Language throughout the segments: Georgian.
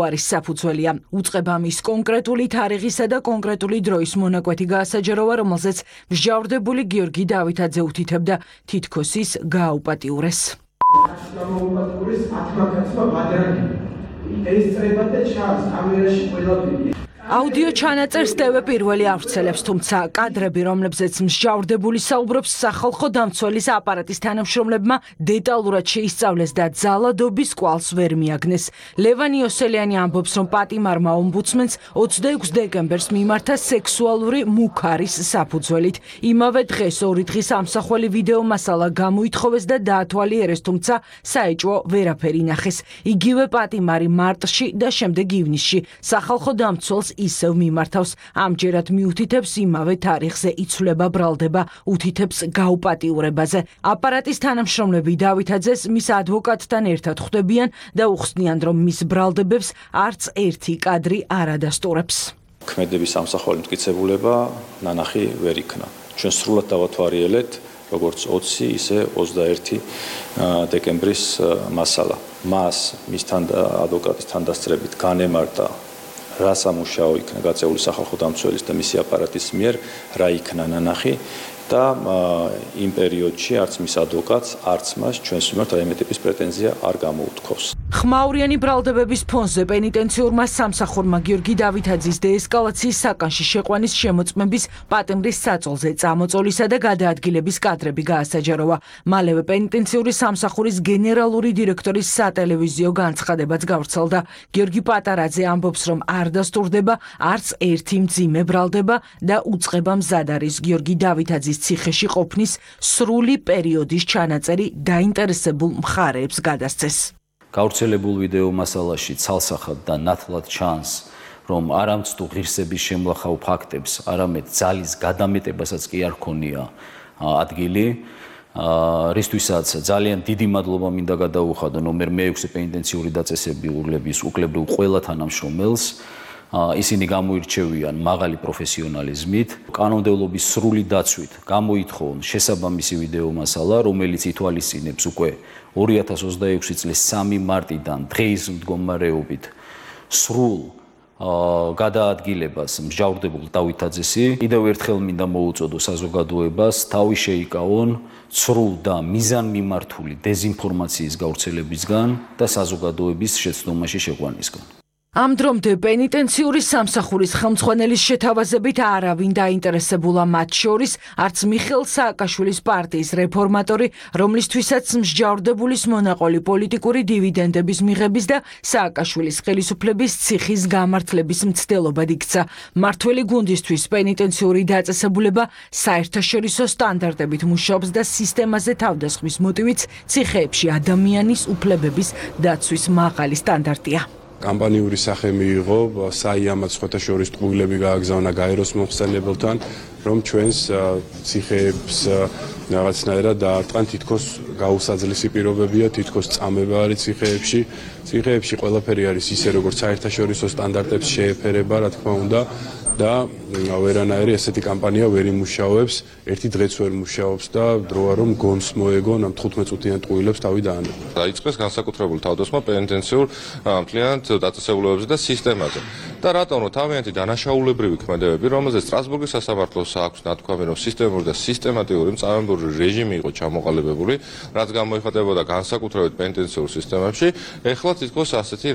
არის საფუძველია. უწყება მის კონკრეტული თარიღისა და კონკრეტული დროის მონაკვეთი გაასაჯაროვა, რომელზეც მსჯავრდებული გიორგი დავითაძე უთითებდა თითქოს ის გააუპატიურეს. აუდიო ჩანაწერს TV პირველი ავრცელებს, თუმცა კადრები, რომლებზეც მსჯავრდებული საუბრობს, სახალხო დამცველის აპარატის თანამშრომლებმა დეტალურად შეისწავლეს და ძალადობის კვალს ვერ მიაგნეს. ლევან იოსელიანი ამბობს, რომ პატიმარმა ომბუდსმენს 26 დეკემბერს მიმართა სექსუალური მუქარის საფუძველით. იმავე დღეს 2 დღის ამსახველი ვიდეო მასალა გამოითხოვეს და დაათვალიერეს, თუმცა საეჭვო ვერაფერი ნახეს. იგივე პატიმარი მარტში და შემდეგ ივნისში სახალხო დამცველს ისევ მიმართავს. ამჯერად მიუთითებს იმავე თარიღზე იცვლება ბრალდება, უთითებს გაუპატიურებაზე. აპარატის თანამშრომლები დავითაძეს მის ადვოკატთან ერთად ხვდებიან და უხსნიან, რომ მის ბრალდებებს არც ერთი კადრი არ ადასტურებს. ქმედების ამსახველი მტკიცებულება ნანახი ვერ იქნა. ჩვენ სრულად დავათვალიერეთ როგორც 20, ისე 21 დეკემბრის მასალა. მას მისთან ადვოკატის თანდასწრებით განემართა რა სამუშაო იქნა გაწეული სახალხო დამცველის და მისი აპარატის მიერ, რა იქნა ნანახი და იმ პერიოდში არც მის ადვოკატს, არც მას ჩვენს მიმართ რაიმე ტიპის პრეტენზია არ გამოუთქვავს. ხმაურიანი ბრალდებების ფონზე პენიტენციურმა სამსახურმა გიორგი დავითაძის დეესკალაციის საკანში შეყვანის შემოწმების პატიმრის საწოლზე წამოწოლისა და გადაადგილების კადრები გაასაჯაროვა. მალევე პენიტენციური სამსახურის გენერალური დირექტორის სატელევიზიო განცხადებაც გავრცელდა. გიორგი პატარაძე ამბობს, რომ არ დასტურდება არც ერთი მძიმე ბრალდება და უწყება მზად არის გიორგი დავითაძის ციხეში ყოფნის სრული პერიოდის ჩანაწერი დაინტერესებულ მხარეებს გადასცეს. გავრცელებულ ვიდეო მასალაში ცალსახად და ნათლად ჩანს, რომ არამცდუ ღირსების შემლახავ ფაქტებს, არამედ ძალის გადამეტებასაც კი არ ქონია ადგილი. რისთვისაც ძალიან დიდი მადლობა მინდა გადაუხადო ნომერ მე-6 პენიტენციური დაწესებულების უკლებრივ ყველა თანამშრომელს. ისინი გამოირჩევიან მაღალი პროფესიონალიზმით, კანონმდებლობის სრული დაცვით გამოითხოვონ შესაბამისი ვიდეო მასალა, რომელიც ითვალისწინებს უკვე 2026 წლის 3 მარტიდან დღეის მდგომარეობით სრულ გადაადგილებას მსჯავრდებულ დავითაძესი. კიდევ ერთხელ მინდა მოუწოდო საზოგადოებას თავი შეიკავონ სრულ და მიზანმიმართული დეზინფორმაციის გავრცელებისგან და საზოგადოების შეცდომაში შეყვანისგან. ამ დრომდე პენიტენციური სამსახურის ხელმძღვანელის შეთავაზებით არავინ დაინტერესებულა, მათ შორის არც მიხეილ სააკაშვილის პარტიის რეფორმატორი, რომლისთვისაც მსჯავრდებულის მონაყოლი პოლიტიკური დივიდენდების მიღების და სააკაშვილის ხელისუფლების ციხის გამართლების მცდელობად იქცა. მმართველი გუნდისთვის პენიტენციური დაწესებულება საერთაშორისო სტანდარტებით მუშაობს და სისტემაზე თავდასხმის მოტივიც ციხეებში ადამიანის უფლებების დაცვის მაღალი სტანდარტია. კამპანიური სახე მიიღო, საიამად სხვათა შორის ტყუილები გააგზავნა გაეროს მომხსენებელთან, რომ ჩვენს ციხეებს რაღაცნაირად დაარტყან, თითქოს გაუსაძლისი პირობებია, თითქოს წამება არის ციხეებში. ციხეებში ყველაფერი არის ისე, როგორც საერთაშორისო სტანდარტებს შეეფერება, რა თქმა უნდა, და ვერანაირი ესეთი კამპანია ვერ იმუშავებს, ერთი დღეც ვერ მუშაობს და დროა რომ გონს მოეგონ ამ 15 წუთიან ტყუილებს თავი დაანებო. დაიწყეს განსაკუთრებული თავდასხმა პენიტენციურ მთლიანად დაწესებულებებზე და სისტემაზე. და რატომ რომ თავიანთი დანაშაულებრივი ქმედებები, რომელზეც სტრასბურგის სასამართლოს აქვს ნათქვამი, რომ სისტემური და სისტემატიური მწარმოებრივი რეჟიმი იყო ჩამოყალიბებული, რაც გამოიხატებოდა განსაკუთრებით პენიტენციურ სისტემებში, ეხლა თითქოს ასეთი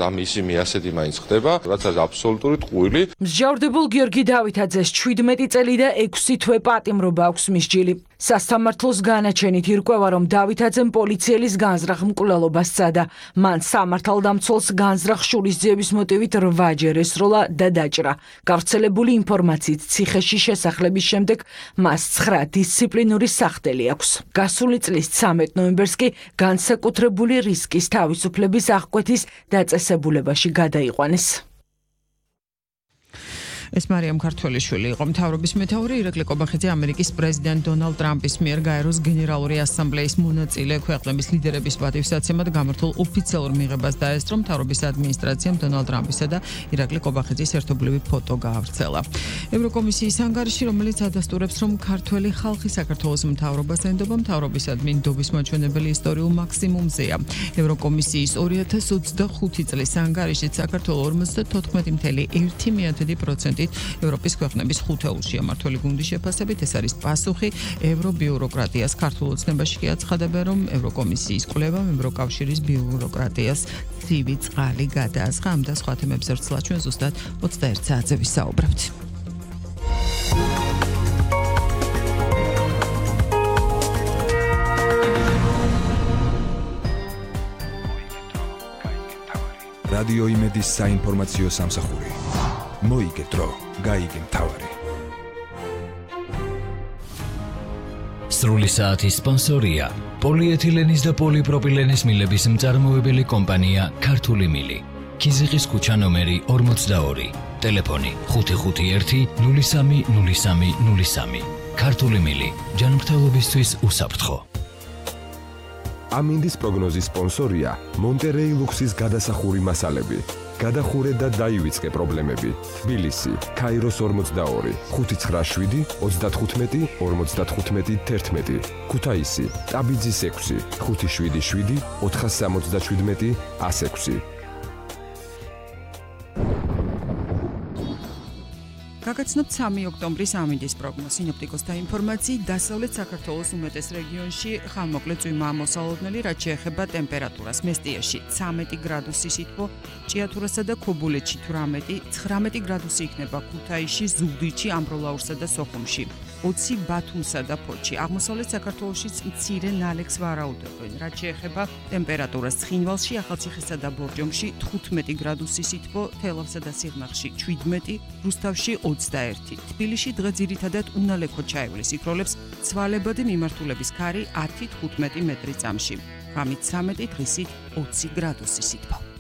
რამ ისი მიასეთი მაინც ხდება, რაც არის აბსოლუტური ტყუილი. მსჯავრდებულ გიორგი დავითაძეს 17 წელი და 6 თვე პატიმრობა აქვს მისჯილი. სასამართლოს განაჩენით ირკვევა, რომ დავითაძემ პოლიციელის განზრახ მკვლელობას სცადა. მან სამართალდამცველს განზრახ შურისძიების მოტივით 8 ჯერ ესროლა და დაჭრა. გავრცელებული ინფორმაციით ციხეში შესახლების შემდეგ მას 9 დისციპლინური სახდელი აქვს. გასული წლის 13 ნოემბერს კი განსაკუთრებული რისკის თავისუფლების აღკვეთის დაწესებულებაში გადაიყვანეს. ეს მარიამ ქართველიშვილი იყო მთავრობის მეთაური ირაკლი კობახიძე ამერიკის პრეზიდენტ დონალდ ტრამპის მიერ გაეროს გენერალური ასამბლეის მონაწილე ქვეყნების ლიდერების პატივსაცემად გამართულ ოფიციალურ მიღებას დაესწრო მთავრობის ადმინისტრაციამ დონალდ ტრამპისა და ირაკლი კობახიძის ერთობლივი ფოტო გაავრცელა. ევროკომისიის ანგარიში, რომელიც ადასტურებს, რომ ქართველი ხალხი საქართველოს მთავრობას ენდობა, მთავრობისადმი ნდობის მაჩვენებელი ისტორიულ მაქსიმუმზეა. ევროკომისიის 2025 წლის ანგარიშით საქართველოს 54.1%-ით ევროპის ქვეყნების ხუთეულში მმართველი გუნდის შეფასებით ეს არის პასუხი ევრობიუროკრატიას. ქართულ ოცნებაში კი აცხადებენ, რომ ევროკომისიის კვლევამ ევროკავშირის ბიუროკრატიას ცივი წყალი გადაასხა. ამ და სხვა თემებზე ვრცლად ჩვენ ზუსტად 21 საათზე ვისაუბრებთ. რადიო იმედის საინფორმაციო სამსახური. მოიგე დრო, გაიგე მთავარი. სრული საათის სპონსორია პოლიეთილენის და პოლიპროპილენის მილების მწარმოებელი კომპანია ქართული მილი. ქიზიყის ქუჩა ნომერი 42. ტელეფონი 551 03 03 03. ქართული მილი. ჯანმრთელობისთვის უსაფრთხო. ამინდის პროგნოზის სპონსორია მონტერეი ლუქსის გადასახური მასალები. გადახურე და დაივიწყე პრობლემები. თბილისი, ქაიროს 42, 597, 35, 55, 11. ქუთაისი, ტაბიძის 6, 577, 477, 106. გაგაცნობთ 3 ოქტომბრის ამინდის პროგნოზი. სინოპტიკოსთა ინფორმაციით, დასავლეთ საქართველოს უმეტეს რეგიონში ხანმოკლე წვიმაა მოსალოდნელი, რაც შეეხება ტემპერატურას. მესტიაში 13 გრადუსი სითბო, ჭიათურასა და ქობულეთში 18, 19 გრადუსი იქნება ქუთაისში, ზუგდიდში, ამბროლაურსა და სოხუმში. 20 ბათუმსა და ფოთში. აღმოსავლეთ საქართველოშიც მცირე ნალექს ვარაუდობენ. რაც შეეხება ტემპერატურას, ცხინვალში, ახალციხესა და ბორჯომში 15 გრადუსი სითბო, თელავსა და სიღნაღში 17, რუსთავში 21. თბილისში დღე ძირითადად უნალექო ჩაივლის, იქროლებს ცვალებადი მიმართულების ქარი 10-15 მეტრი წამში. ღამით 13, დღისით 20 გრადუსი სითბო.